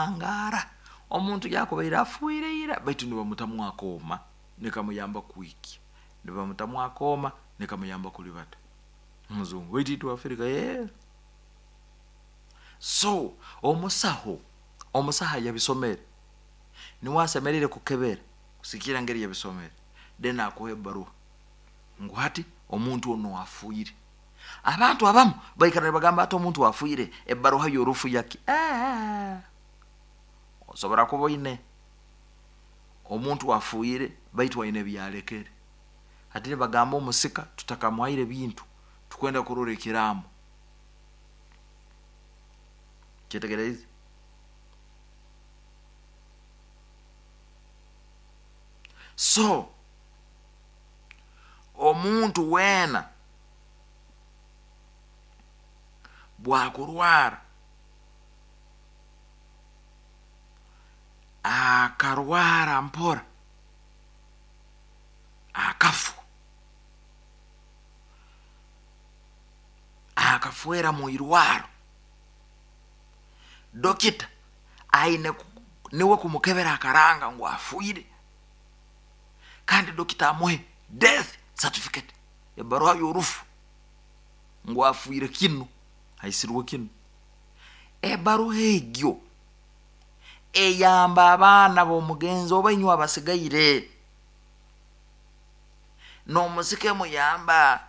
Akahangaara omuntu yakubaire afuire ira, baitu nibamutamu akooma nikamuyamba kwikya, nibamutamu akooma nikamuyamba kulibata. Omuzungu, baitu itwe Afrika ee. So omusaho, omusaho ayabisomere niwe asemeriire kukebera kusigikirra ngeri yabisomere, then akuha ebaruha ngu hati omuntu onu afiire. Abantu abamu baikara nibagamba ati omuntu afiire, ebaruha y'orufu yaki? Osobora kuba oine omuntu afiire baitu aine ebyalekere. Hati nibagamba omusika tutakamuhaire bintu, tukwenda kurora ekiraamo. Kyetegereze? So omuntu weena bwakurwara akarwara mpora akafa, akafwera mu irwaro, dokita aine niwe kumukebera akaranga ngu afiire, kandi dokita amuhe death certificate, ebaruha y'orufu ngu afiire kinu, aisirwe kinu. Ebaruha egyo eyamba abaana b'omugenzi oba inywe abasigaire, n'omusika emuyamba.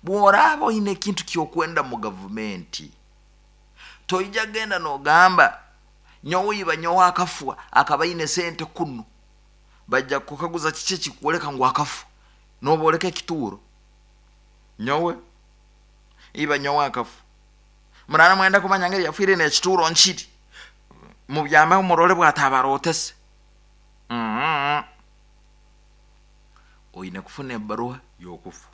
Bw'oraaba oine ekintu ky'okwenda mu gavumenti, toija kugenda n'ogamba nyowe iba nyowe akafwa akaba aine sente kunu, bajja kukukaguza kiki ekikukwoleka ngu akafwa, noboleka ekituuro, nyowe iba nyowe akafwa, murara mwenda kumanya ngeri yafiire n'ekituuro nkiri, mubyameho murole bwatabarootese. Oine kufuna ebaruha y'okufa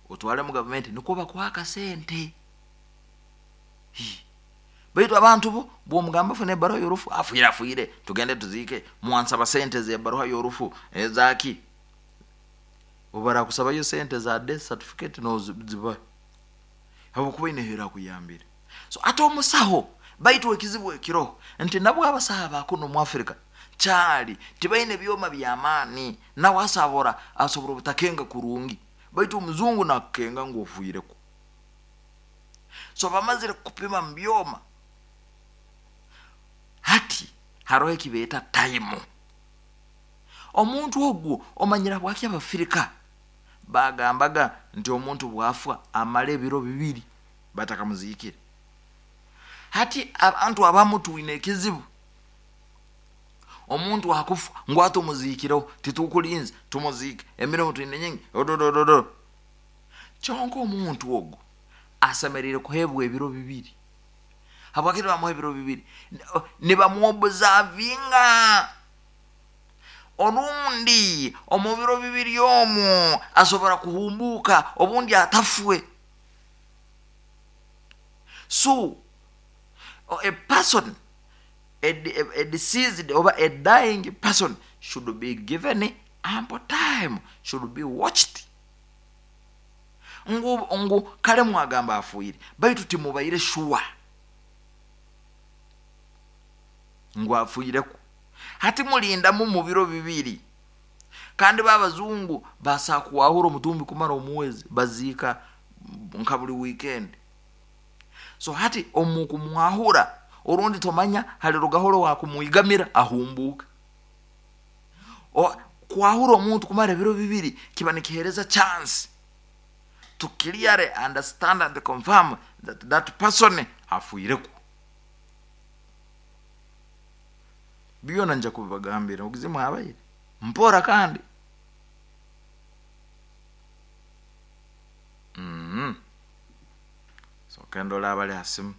otwale mu gavumenti nikwo bakuha akasente. Baitu abantu bo bwomugamba funa ebaruha y'orufu, afiire afiire, tugende tuziike, mwansaba sente z'ebaruha y'orufu ezaki? Obu barakusabayo sente za death certificate nozibaha, habwokuba oine erakuyambire. So ate omusaho, baitu ekizibu ekiroho nti nabwo abasaho abakuno omu Africa kyali tibaine byoma by'amaani, nawe asobora asobora obutakenga kurungi, baitu omuzungu nakukenga ngu ofiireku. So bamazire kukupima mu byoma, hati haroho ekibeeta time. Omuntu ogwo omanyire habwaki Abafirika bagambaga nti omuntu bwafwa amara ebiro bibiri batakamuziikire. Hati abantu abamu twine ekizibu, omuntu akufa ngu ati omuziikireho, titukulinze tumuziike, emirimo twine nyingi, ododododo. Kyonka omuntu ogwo asemeriire kuheebwa ebiro bibiri. Habwaki nibamuha ebiro bibiri? Nibamuobuzavinga. Orundi omu biro bibiri omwo asobora kuhumbuuka, obundi atafwe. So a person, a deceased oba a dying person should be given ample time, should be watched. Ngu, ngu kale mwagamba afuire, baitu timubaire sure ngu afuireku. Hati mulindamu mu biro bibiri. Kandi babazungu basaa kuwahura omutumbi kumara omwezi, baziika nka buli weekend. So hati omu kumwahura, orundi tomanya halirugaho wakumwigamira ahumbuuke. Kwahura omuntu kumara ebiro bibiri kiba nikihereza chance to clearly understand and confirm that that person afuireku. Byona nja kubibagambira ogizimu abaire mpora kandi. Soke ndole abali ha simu.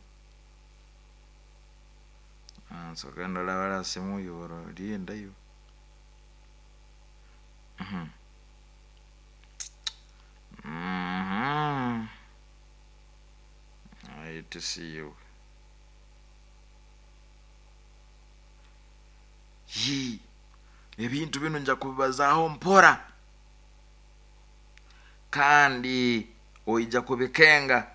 Soke ndole abali ha simu linda iwe. ITC iwe. Yii, ebintu binu nja kubibazaaho mpora, kandi oija kubikenga.